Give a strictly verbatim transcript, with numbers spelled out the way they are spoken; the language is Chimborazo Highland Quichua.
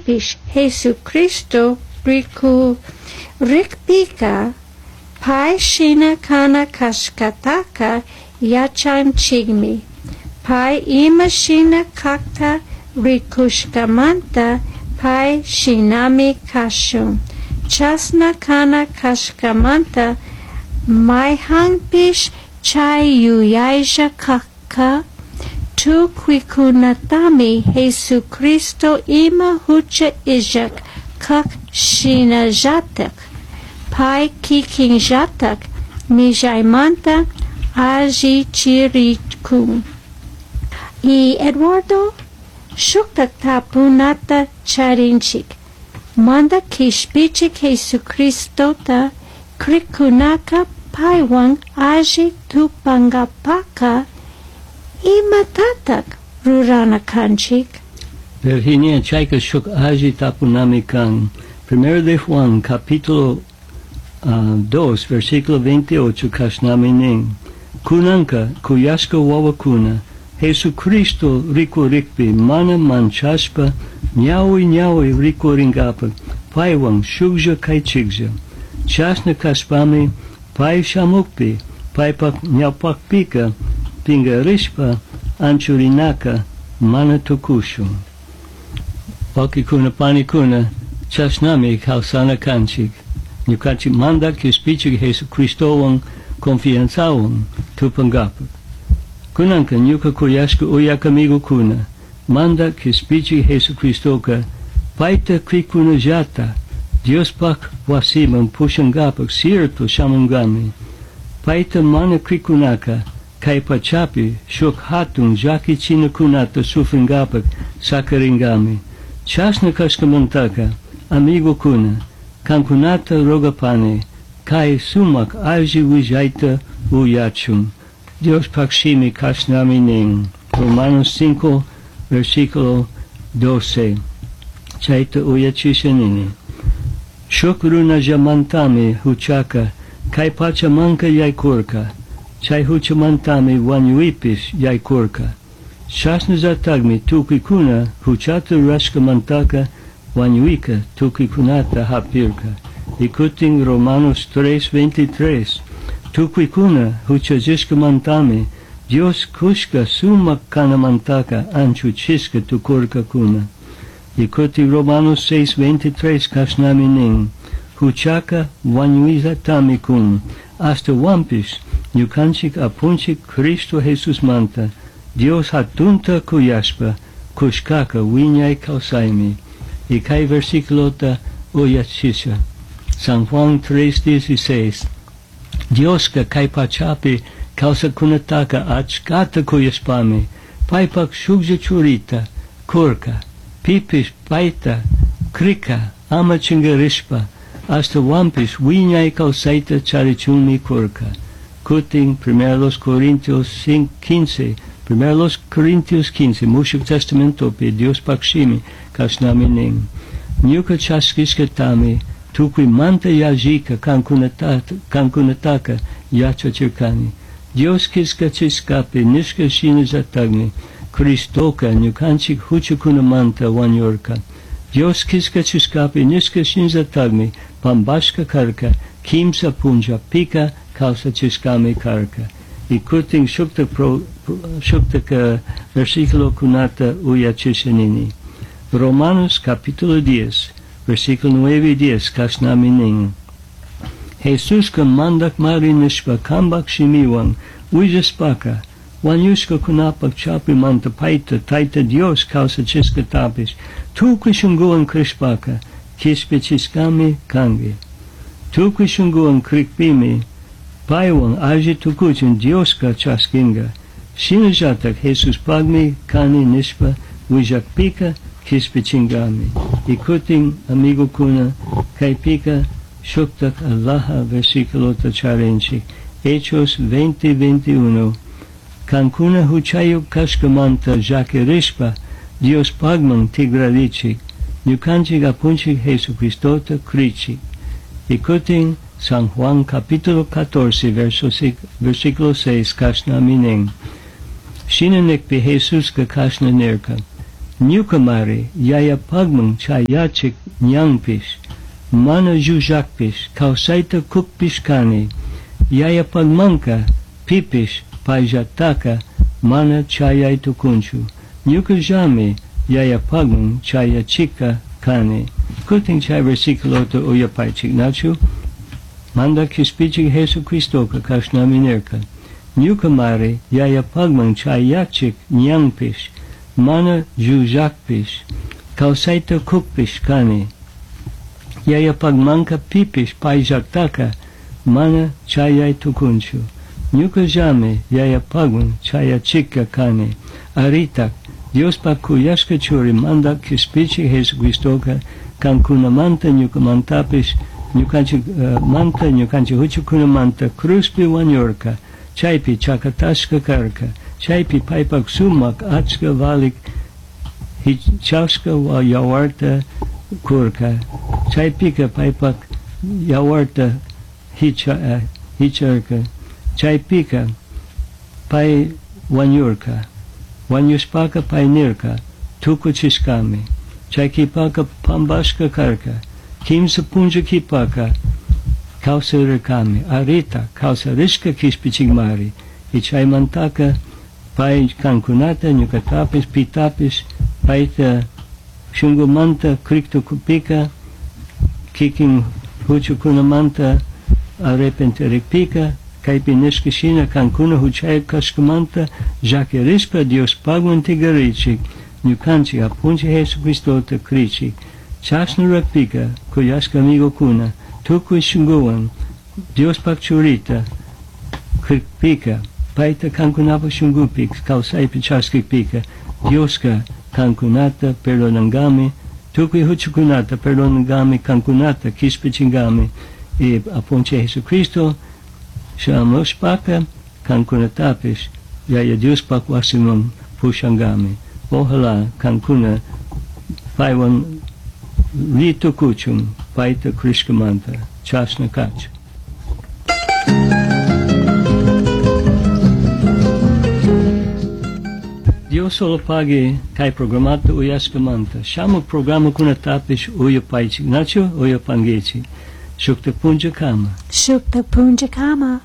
Ashtahuanpish Jesucristo ricurijpica pai shina cana cashcataca yachanchijmi. Pai ima shina cajta ricushcamanta pai shinami cashun. Chashna cana cashcamanta maijanpish chai yuyailla cajca, tucuicunatami Jesucristo ima jucha illaj caj shinallataj pai quiquinllataj millaimanta allichiricun. Y Eduardo, shuktak tapunata charinchik. Mandaj Quishpichij Jesucristota crijcunaca paihuan alli tupangapajca imatataj rurana canchij? Virginia, chaica shuk alli tapunami can. Primero de Juan, capítulo uh, dos, versículo veintiocho, cashnami nin. Cunanca, cuyashca huahuacuna, Jesucristo ricurijpi mana manchashpa, ñahui ñahui ricuringapaj, paihuan shujlla caichijlla. Chashna cashpami, pai shamujpi, paipaj ñaupajpica, pingarishpa, anchurinaca, mana tucushun. Huauquicuna, panicuna, chashnami causana canchij. Ñucanchij Mandaj Quishpichij Jesucristohuan confianzahuan tupangapaj. Cunanca ñuca cuyashca uyac amigocuna, Mandaj Quishpichij Jesucristoca, paita cricunallata, Diospaj huasiman pushangapaj cierto shamungami. Paita mana cricunaca, cai pachapi shuj jatun llaquichinacunata sufringapaj saquiringami. Chashna cashcamantaca, amigocuna, cancunata rogapani, cai sumaj alli huillaita uyachun. Diospaj shimi cashnami nin. Romanos cinco, versículo doce. Chaita uyachisha nini. Shuj runallamantami juchaca, cai pachamanca yaicurca. Chai juchamantami huañuipish yaicurca. Chashnallatajmi tucuicuna juchata rurashcamantaca huañuica tucuicunata japirca. Y cutin Romanos tres, veintitrés. Tucuicuna juchallishcamantami Dios cushca sumac canamantaca anchuchishca tucurcacuna. Y cutin Romanos seis, veintitrés cashnami nin. Juchaca huañuillatami cun. Ashtahuanpish ñucanchic apunchic Cristo Jesusmanta Dios jatunta cuyashpa cushcaca huiñai causaimi. Y cai versiculota uyachisha. San Juan tres, dieciséis. Diosca cai pachapi causacunataca achcata cuyashpami, paipac shujlla churita curca, pipish paita crica ama chingarishpa, ashtahuanpish huiñai causaita charichunmi curca. Cutin Primero los Corintios quince, Primero los Corintios quince, Mushuc Testamentopi, Diospac shimi, cashnami nin. Ñuca chasquishcatami, tucui manta yallica cancunataca yachachircani. Dios quillcachishcapi nishca shinallatajmi, Cristoca ñucanchic juchacunamanta huañurca. Dios quillcachishcapi nishca shinallatajmi, pambashca carca, quimsa punllapica causachishcami carca. Y cutin shukta pro, shukta versículo cunata uyachisha nini. Romanos capítulo diez, versículo nueve y diez, cashnami nin. Jesuska mandak mari nishpa kambak shimiwan, huillashpaca, huañushcacunapac chapimanta paita, taita Dios causachishcatapish, tucui shunguhuan crishpaca, quishpichishcami cangui. Tucui shunguhuan cricpimi, paihuan alli tucuchun Diosca chasquinga. Shinallataj Jesuspagmi cani nishpa huillacpica quishpichingami. Y cutin, amigocuna, caipica shuktak allaha versículota charinchik. Hechos veinte, veintiuno. Cancuna huchayuk cashcamanta llaquirishpa Dios pagman tigrarichik. Ñucanchik apunchik Jesucristota crichik. Y cutin San Juan capítulo catorce, verso versículo seis, cashnami nin. Shina nikpi Jesuska kashna nirka. Ñucamari yayapagman chayachik ñanpish, mana llullakpish, kawsayta kukpish kani. Yayapagmanka pipish payllataca mana chayay tukunchu. Ñucallami yayapagman chayachikka kani. Kutin chay versículota uyapaychik, nachu? Mandak Kishpichik Jesucristoka kashnami nirka. Ñucamari yayapagman chayachik ñanpish, mana llullakpish, kawsayta kukpish kani. Yayapagmanka pipish payllataca mana chayay tukunchu. Ñucallami yayapagman chayachikka kani. Aritak, Diospak kuyashka churi mandak Kishpichik Jesucristoka kankunamanta ñukamantapish ñukanchik uh, manta ñukanchik huchakunamanta cruzpi wañurka, chaypi chakatashka karka, chaypi paypak sumak achka valik hichashka yawarta kurka, chaypika paypak yawarta hicha, uh, hicharka, chaypika pay wañurka, wañushpaka pay nirka, tukuchishkami, chay kipaka pambashka karka, kimsa punlla kipaka kawsarirkami, arita kawsarishka kishpichikmari, y chaymantaka pay kankunata ñukatapish pitapish payta shunkumanta kriktukupika kikin huchakunamanta arrepentirikpika kaypi nishka shina kankuna huchayuk kashkamanta llakirishpa Diospagman tigarichik ñukanchik Apunchik Jesucristota krichik. Chashna rurakpika kuyashka amigokuna tukuy shunkuwan Diospak churita krikpika payta kankunapak shunkupi kawsaypi chaskikpika Dioska kankunata perdonangami, tukuy huchakunata perdonangami, kankunata kishpichingami. Y Apunchik Jesucristo shamushpaka kankunatapish Yaya Diospak wasiman pushangami. Ojalá kankuna paywan ri tukuchun payta krishkamanta. Chashna kachu. Dios solo pague kay programata uyashkamanta. Shamuk programakunatapish uyapaychik, nachu uyapangichik. Shukta punja kama. Shukta punja kama.